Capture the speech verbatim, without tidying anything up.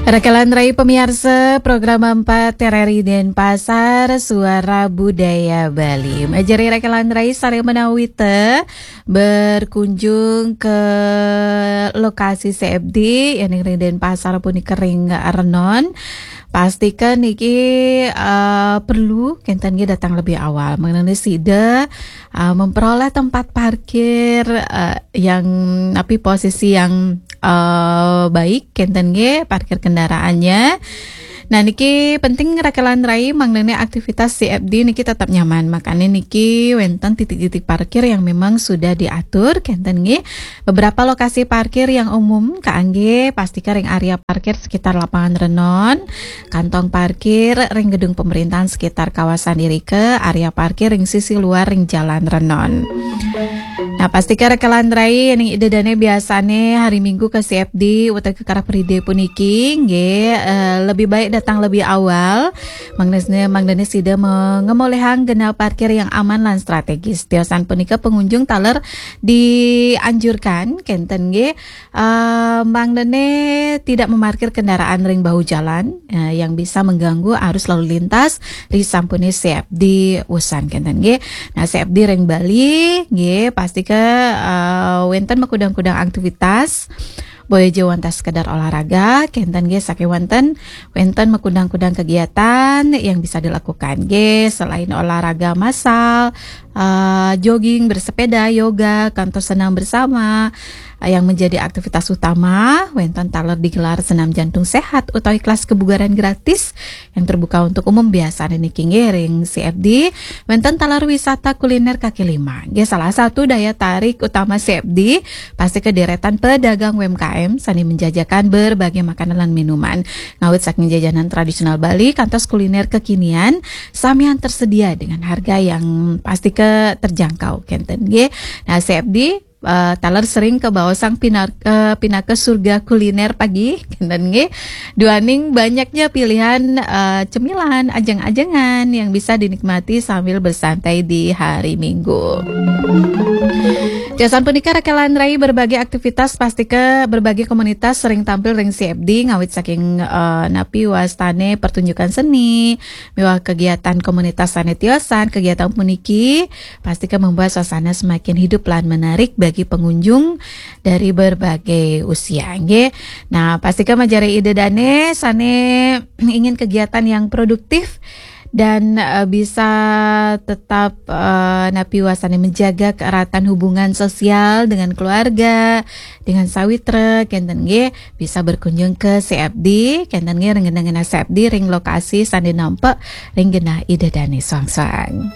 Rakelan rai pamiarsa, program empat TRRI Denpasar, Suara Budaya Bali. Majeng rakelan rai sareng menawi te berkunjung ke lokasi CFD, yaitu ring Denpasar punika ring Renon. Pastika niki, eh, perlu kenten nggih datang lebih awal. Mengenai sida, eh, memperoleh tempat parkir, eh, yang, napi, posisi yang, eh, baik, kenten nggih, parkir kendaraannya. Nah, niki penting rakelan rai, mangdane aktivitas CFD niki tetap nyaman. Makanya niki wenten titik-titik parkir yang memang sudah diatur, kenten nggih. Beberapa lokasi parkir yang umum kaanggé, pastika ring area parkir sekitar lapangan Renon, kantong parkir ring gedung pemerintahan sekitar kawasan irika, area parkir ring sisi luar ring Jalan Renon. Nah, pastika rakelan rai, ning ida dane biasane hari Minggu ke CFD utawi ke Car Free Day puniki, nggih, eh, lebih baik datang lebih awal. Mangdane, mangdane sida me-, ngemolihang genah parkir yang aman lan strategis. Tiosan punika pengunjung taler dianjurkan, kenten nggih, eh, mangdane tidak memarkir kendaraan ring bahu jalan, eh, yang bisa mengganggu arus lalu lintas ri sampune CFD wusan, kenten nggih. Nah, CFD ring Bali nggih, pastika, eh, wenten makudang-kudang aktivitas. Boya ja wantah sekedar olahraga, kenten nggih, saking wenten, wenten makudang-kudang kegiatan yang bisa dilakukan nggih, selain olahraga massal, eh, jogging, bersepeda, yoga, kantos senam bersama, eh, yang menjadi aktivitas utama. Wenten taler digelar senam jantung sehat utawi kelas kebugaran gratis yang terbuka untuk umum biasane niki nggih ring CFD. Wenten taler wisata kuliner kaki lima. Nggih, salah satu daya tarik utama CFD, pastika deretan pedagang UMKM sane menjajakan berbagai makanan lan minuman. Ngawit saking jajanan tradisional Bali kantos kuliner kekinian, samian tersedia dengan harga yang pastika terjangkau, kenten nggih. Nah, CFD, eh, taler sering kabaosang pinar-, eh, pinaka surga kuliner pagi, kenten nggih. Duaning banyaknya pilihan, eh, cemilan, ajeng-ajengan yang bisa dinikmati sambil bersantai di hari Minggu. Tiosan punika rakelan rai, berbagai aktivitas, pastika berbagai komunitas sering tampil ring CFD, ngawit saking, eh, napi wastane pertunjukan seni, miwah kegiatan komunitas sane tiosan. Kegiatan puniki pastika membuat suasana semakin hidup lan menarik bagi pengunjung dari berbagai usia, nggih. Nah, pastika majeng ida dane sane ingin kegiatan yang produktif dan, eh, bisa tetap, eh, napi wastane menjaga keeratan hubungan sosial dengan keluarga, dengan sawitra, kenten nggih, bisa berkunjung ke CFD, kenten nggih, ring genah-genah CFD ring lokasi sane nampak ring genah ida dane soang-soang.